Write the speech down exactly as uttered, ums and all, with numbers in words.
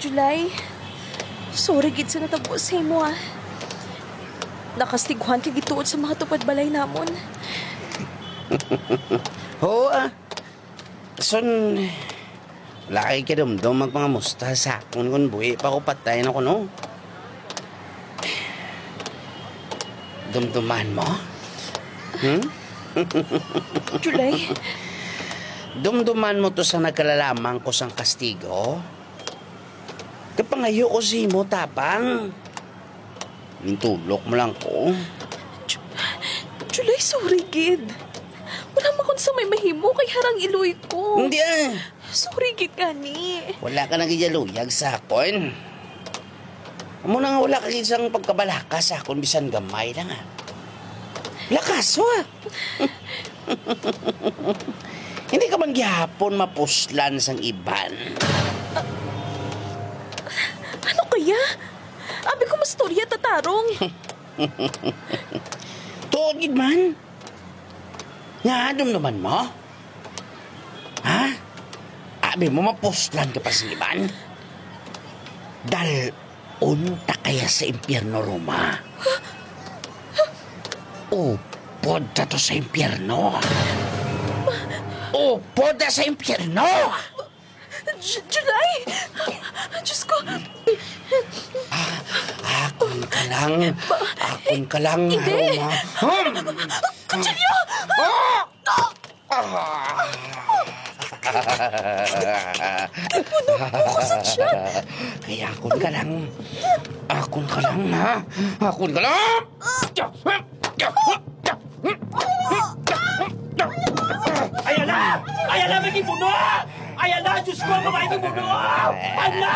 July, sorry gid sa natabo sa imo, ah. Nakastiguhan ka gituod sa mga tupad balay namon. Oo, ah. Son, wala kay kadumdom magpangamusta sa akon kon buhi pa ko patay na kuno. Dumduman mo? Hmm? July, Dumduman mo to sa nagkalalamang ko sang kastigo? Kapangayo ko sa imo, Tapang. Mintulok mo lang ko. July, sorry gid. Wala man ko sa may mahimo kay harang iloy ko. Hindi ah. Sorry gid gani. Wala ka nagiyaluyag sa akon. Amo na nga wala ka gid sang pagkabalaka sa akon bisan gamay lang ah. Lakas ah. Hindi ka man gihapon mapuslan sang iban. Ano kaya? Abi ko mastorya, tatarong. Tuod gid man. Nga dumduman mo? Ha? Abi mo mapuslan ka pa sa iban? Dal-on ta kaya sa impyerno, Roma. Upod ta to sa impyerno. Upod ta sa impyerno! J- July! Diyos ko! Akon ka lang. Akon ka lang, Hindi. Roma. Hmm. Kutsilyo! Ah! Ah! Puno ko sa tiyan! Kaya akon ka lang. Akon ka lang, ha? Akon ka lang! Ayala! Ayala, may gibuno! Ayala, Diyos ko, may gibuno! Ala!